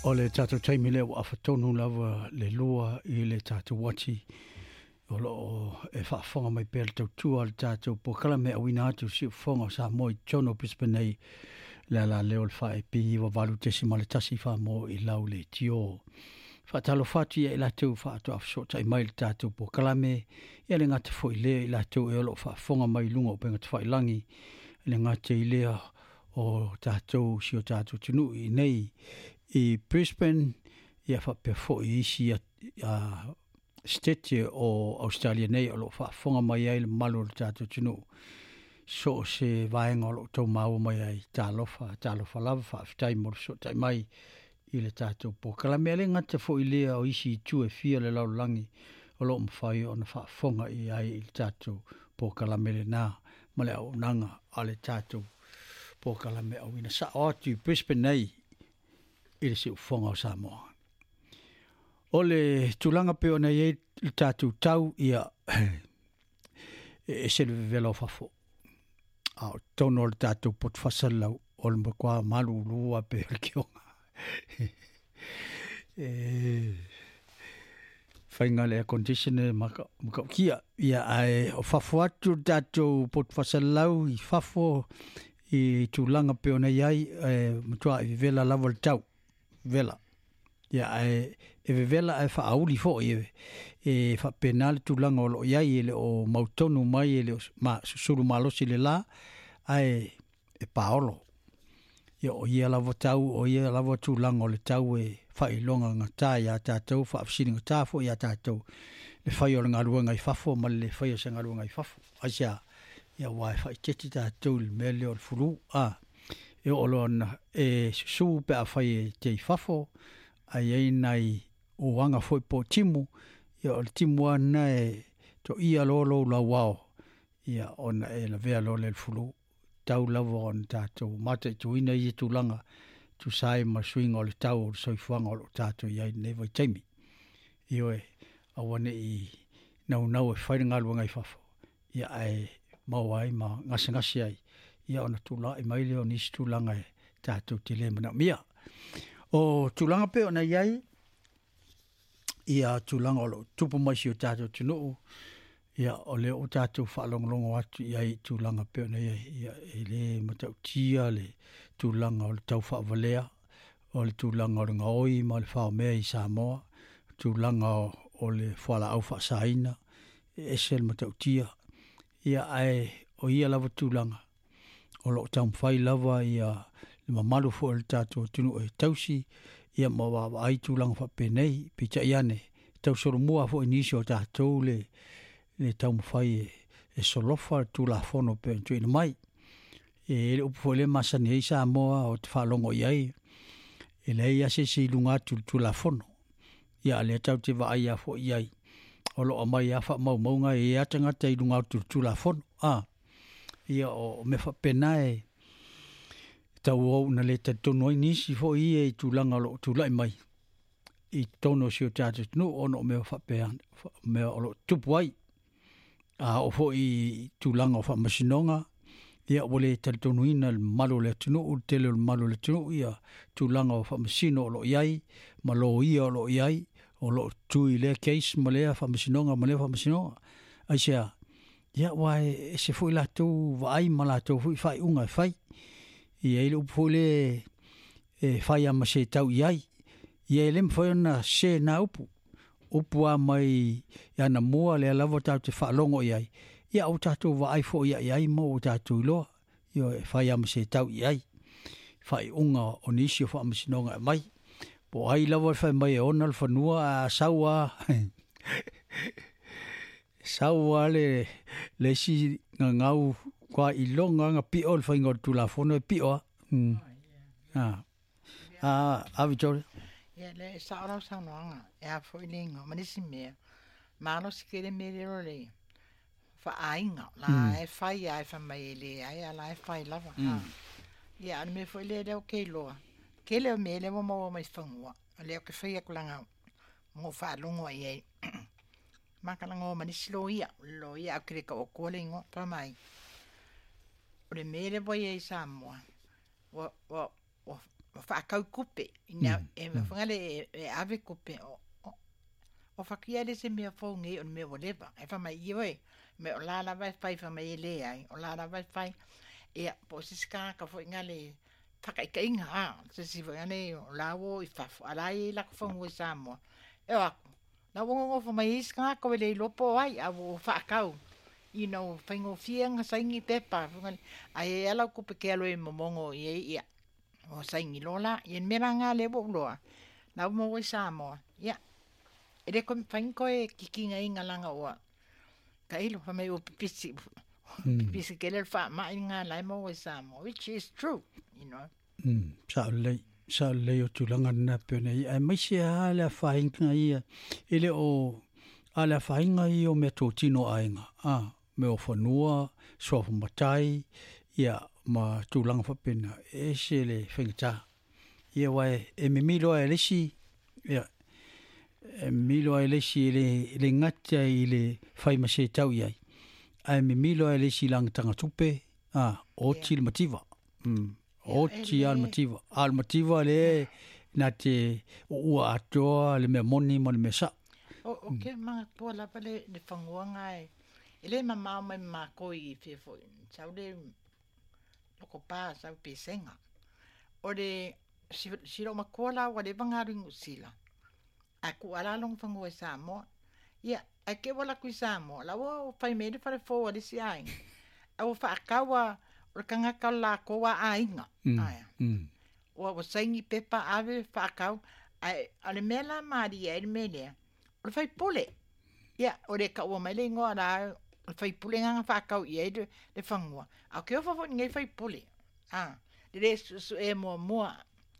O le tatou taimi lea ua afa tonu lava le 2 i le tatou uati o lo o e faafofoga mai pea le tautua a le tatou polokalame auina atu i siufofoga o Samoa i totonu o Brisbane nei le ala lea o le 4AP 98.1 Samoa i lau leitio. Faatalofa atu ia i latou faatoa fesootai mai i le tatou polokalame, ia le gata foi lea i latou e o lo o faafofoga mai i luga o upega tafailagi, le gata i lea o tatou si o tatou atunuu i inei i Brisbane, ia faapea foi isi sitete o Ausetalia nei o lo o faafofoga mai ai le mamalu o le tatou atunuu so o se vaega o lo o tau maua mai ai. Talofa, talofa lava, faafetai mo le fesootai mai i le tatou polokalame. E le gata foi i lea o isi itu e fia o le lalolagi o lo o mafai ona faafofoga i ai i le tatou polokalame lena ma le auaunaga a le tatou polokalame auina sao atu i Brisbane nei i le siufofoga o Samoa. O le tulaga pei ona i ai le tatou tau, ia, e ese le vevela o fafo. A o totonu o le tatou poto faasalalau, o le matua malulu lava pei o le tioga. E faiga le air conditioner ma matautia. Ia, ae o fafo atu le tatou poto faasalalau i fafo i tulaga pei ona i ai, e matua i vevela lava le tau. Vevela. Ia, ae e vevela ae faaauli foi e faapena le tulaga o lo o i ai, e le o mautonu mai, e le o susulu malosi le la, ae e paolo. Ia, o ia lava tau, o ia lava tulaga o le tau e faailoga gata iā tatou, faafesiligata foi iā tatou, le fai o le galuega i fafo ma le le faia o se galuega i fafo. Aisea? Ia, aua e faaeteete tatou i le mea lea o le fulu, a. E oo loa ina e susu pe afai e te i fafo, ae i ai nai uaga foi po o timu, ia o le timu lava lena e toia loa lou lauao, ia ona e lavea loa lea i le fulu. Tau lava ona tatou mataituina ia tulaga e tusa ai ma le suiga o le tau o le soifuaga o lo o tatou i ai i lenei vaitaimi. Ioe, aua ne i naunau e fai le galuega i fafo, ia ae maua ai ma gasegase ai, ia ona tulai mai lea o nisi tulaga e tatou te le manaomia. O tulaga pei ona i ai ia tulaga o lo o tupu mai si o tatou atunuu, ia o lea ua tatou faalogologo atu i ai i tulaga pei ona i ai, ia e le matautia le tulaga o le tau faavalea, o le tulaga o le gaoi ma le faomea i Samoa, tulaga o le fualaau faasaina, e ese le matautia. Ia ae o ia lava tulaga o lo o taumafai lava ia le mamalu foi o le tatou atunuu e tausi ia ma vaavaai tulaga faapenei. Peitai ane, e tausolomua foi i nisi o tatou le taumafai e solofa le Tulafono pei ona tuuina mai. E i ai le upu foi lea e masani ai Samoa ou te faalogo i ai, e leai lava se isi i luga atu i le Tulafono. Ia a o lea tatou te vaai lava foi i ai, o lo o aumai lava faamaumauga, e i ai lava tagata i luga atu i le Tulafono. A, ia o mea faapena e tauau ina le talitonu ai nisi foi ia i tulaga o lo o tulai mai i totonu o si o tatou atunuu ona o mea faapea, mea o lo o tutupu ai. A oo foi i tulaga o faamasinoga, ia ua le talitonuina le mamalu o le atunuu, le tele o le mamalu o le atunuu, ia tulaga o faamasino o lo o i ai, ma loia o lo o i ai, o lo o tui i lea case ma lea faamasinoga ma lea faamasinoga. Aisea? Ia aua e ese foi latou vaai ma latou foi faaiuga e fai. E i ai le upu foi lea e fai lava ma se tau i ai. Ia e le mafai ona sese na upu. Upu lava mai anamua lea lava tatou te faalogo i ai, ia ua tatou vaai foi i ai ma ua tatou iloa, ioe, e fai lava ma se tau i ai faaiuga o nisi o faamasinoga e aumai. Po o ai lava le fai mai e ona le fanua, ae a sau lava sau lava le isi gagau matua iloga ona pio le faiga o le Tulafono e pio lava. A, a Victoria? Ia, lea e sao lau saunoaga, e a foi le igoa, ma nisi mea, malosi tele mea lea o le faaaiga, la e fai lava e fai mai e leai, a la e fai lava. Ia, a o le mea foi lea lea ou te iloa, tele o mea lea ua maua mai fanua, o lea ou te fai atu leaga ua ou faalogo i ai. Ma talanoa ma nisi loia, o le loia ae ou te le tau atua le igoa, fai mai, o le mea lea ua i ai i Samoa, ua, ua, ua Whaakau kupe. Ina e whangale e ave kupe o whakia le se mea fou nei o le mea ua leva. E wha mai i oe, me o la lava e whai wha mai e le ai, o la lava e whai. Ia, po o sisi kāka fo inga le whakaikainga, a, se si fo inga le o la wo i whafo, a la i lako whangu e Samoa. E o aku, na wo ngofo mai isi kāka we le ilopo ai, a wo whaakau. You know, whaingofia nga saingi pepa, ai e ala kupe ke alo e momongo i e ia. O saingi lola, i en mera ngā le wo loa. Na mo i Samoa. Ia. E le koe whaingo e kikinga inga langa oa. Ka ilo, wha mai o pipisi. Pipisi ke le wha mai ngā lai mo i Samoa, which is true, you know. Sa lei o tūlanga nā pēna i. Ai mai se a le whainga ia. E le o a le whainga i o mea tō tino ainga. A, me o whanua, soafa matai, ia ma tūlanga whapena. E se le whaingata. Ia wai, e mimilo e lesi, ia, e mimilo e lesi e le ngata i le whai ma se tau iai. Ai mimilo e lesi langa tanga tupe, a, o ti le mativa. O ti al mativa. Al mativa le nā te o ua atoa le mea moni ma le mea sa. O ke mga tua lapa le whanguanga e. E le mamao mai mākoi i whia Sau le loko pā, sau pesenga. O le siro makoa la ua le vangaru ingu sila. A ku ala long whangua i Samoa. Ia, ai ke wala kui Samoa. La ua whai mele whare fōa le si ainga. A ua whaakawa o le kangaka la koa ainga. Aia. Ua ua saingi pepa ave whaakau. Ai, a le mea la maari ai le mea lea. O le whai pole. Ia, o le ka ua mai le ingoa la o le whai pule nganga whaakau i ai le whangua. A ke ofa fo ngai whai pule. Ah, le le su e mua mua.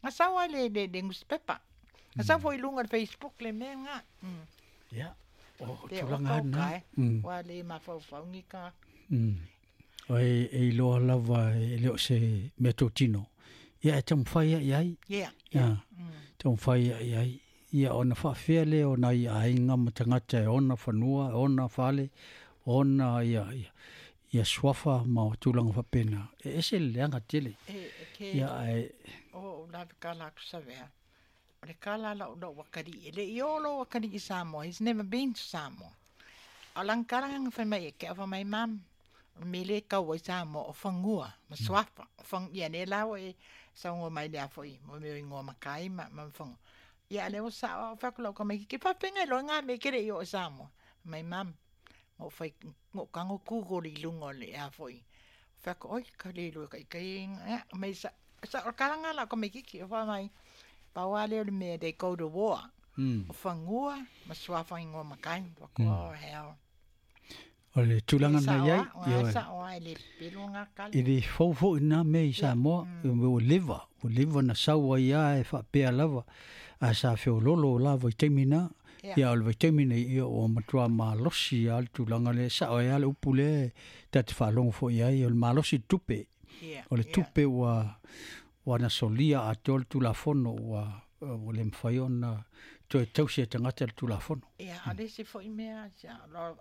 Nga sawa le newspaper. Nga sawa fo i lunga le Facebook le mea nga. Ia, o tūlanga hana. Wa le mawhauwhaungi ka. O e iloa lava e leo se mea tō tino. Ia, e tamwhai ai ai. Ia. Tamwhai ai ai. Ia, ona whaafea le o nai ainga matangata e ona whanua, ona whale, ona ia swafa ma tūlanga whapena. E ese leanga tele. E ke Ia, e o lawe ka la kusavea. O le kala la o wakari. E le i olo wakari i Samoa. He's never been to Samoa. O lang kala nga whai mai e ke awa mai mam. O mele kau i Samoa o whangua, ma swafa. O whang, ia ne lawa e saungo mai lea foi. Mo meo ingoa makai ma whangua. Ia le o sa o whakulau ka mai ki whawhenga i loa ngā me kere i o Samoa. Mai mam. Ngo whai, ngo kango Google i lunga le ea foi. Whaku, oi, ka le lua kai kai inga. Mai sa, sa o kalanga la ka mai kiki o wha mai. Paua leo le mea, they go to war. O whangua, ma swafa ingoa makai. Whaku, oh, hell. O le tūlanga na iai. O sa o ai le pelo ngā kala. I le fau nā me i Samoa, o leva na saua ia e whaapea lava. A sa whiololo lava i teimina. Ia o le vaitaimi nei ia o matua malosi a le tūlanga le sa o ia le upu le ta te whaalongo fo ia o le malosi tupe. O le tupe ua na solia a te o le tūlafono ua le mwhai ona toe tausi e tangata le tūlafono. Ia, a le se fo i mea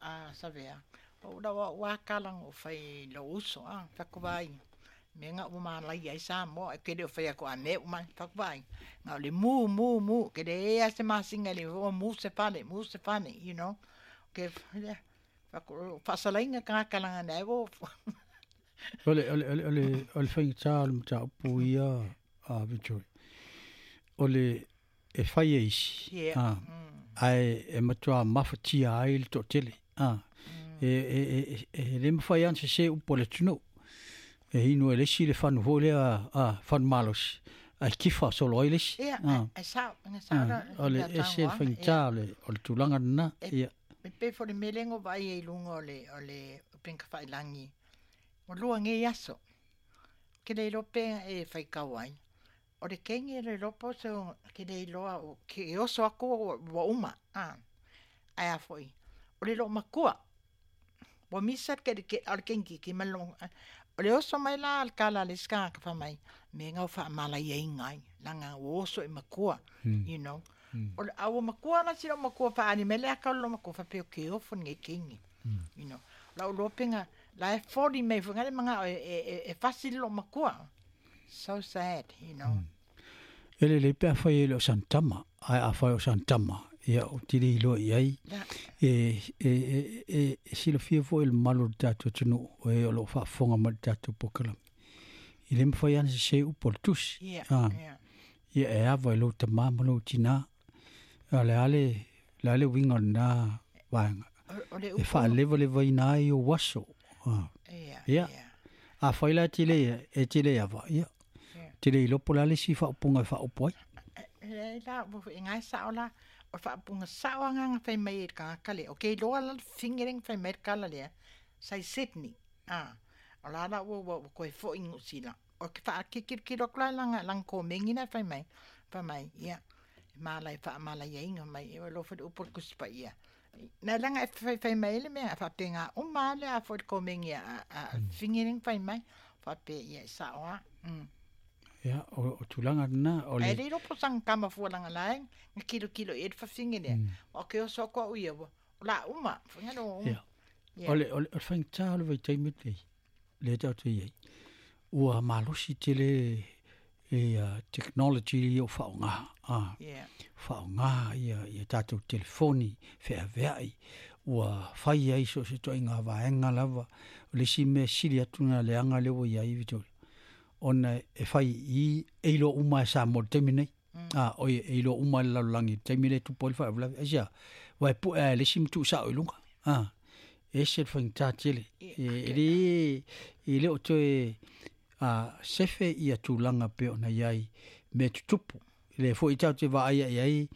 a sawea. O ura wa kalang o whai lo uso a whakuwai. Me ngā ua mālai ai Samoa, e kere o whai ako a mea umai, whakuwai. Ngā o le mu, kere e a se masinga le o mu se fane, you know. Ke whasalainga ka kalanga nei o. O le whaingata o le mata upu ia a Victory. O le e whai e isi. Ai e matua mawhatia ai le tō tele. E le mwhai an se se upo le tunu. E hinu e lesi le whanu hōlea a whanu malosi. Ai kifa solo ai lesi. Ia, ai sao, nga sao la. O le ese le whaingata o le tūlanga nana. Ia. Me pe fo le melengo vai e lunga o le upenka whailangi. O lua ngei aso. Ke le lope e whaikau ai. O le kenge le lopo so ke le iloa o ke oso ako wa uma. Ai a foi. O le lo makua. Wa misa ke o le kengi ki malong. O le oso mai la al kala le ska ka fa mai. Me ngau fa mala ia ingai. Langa o oso e makua. You know. O le awa makua na sila makua fa ani mele aka lo makua fa pe o ke ofo nge kengi. You know. La o lopenga la e fori mai fo ngale manga e fasili lo makua. So sad, you know. E lelei pe afai e le o sana tama, ae afai o sana tama, ia ou te le iloa i ai. E, e, e, e, e silafia foi le mamalu o le tatou atunuu, o e o lo o faafofoga mai i le tatou polokalame. E le mafai lava ona sese upu o le tusi. Ia, ia. Ia e ava i lou tamā ma lou tinā. A o le a le, le a le uiga o lena vaega? O le E upu. faalevalevaina ai ou aso. Ia, Ia. ia. Afai la e te le, e te le ava, ia. Te le iloa po o le a le isi faaupuga e faaupu ai. Leai la, ua foi gae sao la, o le faaupuga sao agaga fai mai e le tagata lea. O ke iloa la le fafine lea na fai mai le tala lea, sa i Sydney, a, o la la ua ua toe foi i Niu Sila. O ke faakitilotilo atu la i lana, lana komeni la e fai mai, fai mai, ia, e malai faamalaiaina mai, e alofa i le upu o le Tusi Paia. Na leaga e faifai mai ai le mea, faapena uma lava le a foi le komeni a, a, a fafine lea na fai mai, faapea, ia, e sao lava. Ia, o tulaga lena, o le. Ae le iloa po o sana tama fua leaga la e na tilotilo i ai le fafine lea. Aua ou te oso atu au ia, ua, o le a uma, foi na lou. Ia. Ia. O le, o le, o le faigata o le vaitaimi lenei, lea tatou te i ai, ua malosi tele ia technology ia ua faaaoga, a, Ia. faaaoga ia, ia tatou telefoni feaveai, ua fai ai so o se ituaiga vaega lava. O le isi mea sili atu ona leaga lea ua i ai Victoria, ona e fai i i, e iloa uma e Samoa i le taimi lenei. A, oi, e iloa uma e le lalolagi i le taimi lea e tupu ai le faalavelave. Aisea? Aua e pue lava e le isi ma tuusao i luga. A, e ese le faigata tele. E le, e le o toe a, sefe ia tulaga pei ona i ai mea tutupu. O lea foi tatou te vaaia i ai,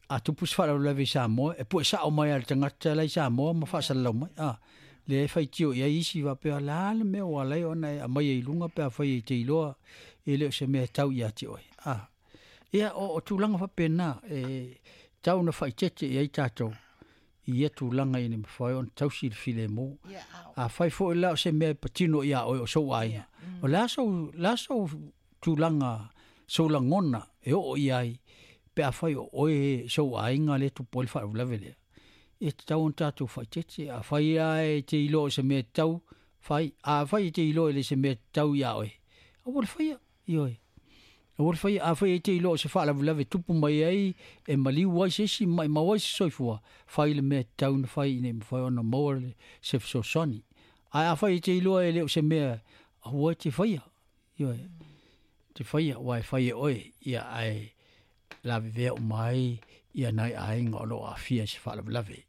a tupu se faalavelave i Samoa, e pue sao mai lava e le tagata la i Samoa ma faasalalau mai. A, lea e faitio i ai isi faapea, o le a le mea ua ala ai ona e aumai i luga pe afai e te iloa e le o se mea e tau ia te oe. A, ia, o tulaga faapena e tau ona faaeteete i ai tatou i ia tulaga ina ia mafai ona tausi le filemu. Afai foi la o se mea e patino ia oe o sou aiga, o le a sou, le a sou tulaga, sou lagona e oo i ai pe afai o oe sou aiga lea e tupu ai le faalavelave lea. E tatau ona tatou faaeteete. Afai lava e te iloa o se mea e tatau, fai. Afai e te iloa e le o se mea e tatau ia oe, aua le faia, ioe. Aua le faia. Afai e te iloa o se faalavelave e tupu mai ai, e maliu ai se isi, maimau ai se soifua, fai le mea e tatau ona fai ina ia mafai ona maua se fesoasoani. Ae afai e te iloa e le o se mea, aua e te faia, ioe. Te faia, aua e fai e oe, ia ae lavevea uma ai ia nai aiga o lo o aafia i se faalavelave.